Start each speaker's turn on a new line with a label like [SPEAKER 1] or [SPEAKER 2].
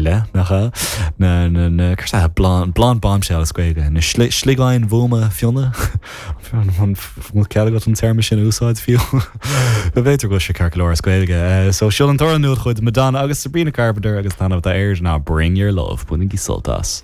[SPEAKER 1] leith, nach ea? Na, na, na, céard é blonde, blonde bombshell as Gaeilge, na sliogáin bhuama fionna? An bhfuil cead agat an téarma sin a úsáid fiú? B'fhéidir go bhfuil sé ceart go leor as Gaeilge. So seo an t-amhrán nua de chuid Madonna agus Sabrina Carpenter agus an t-ainm atá air ná Bring Your Love. Bainigí sult as.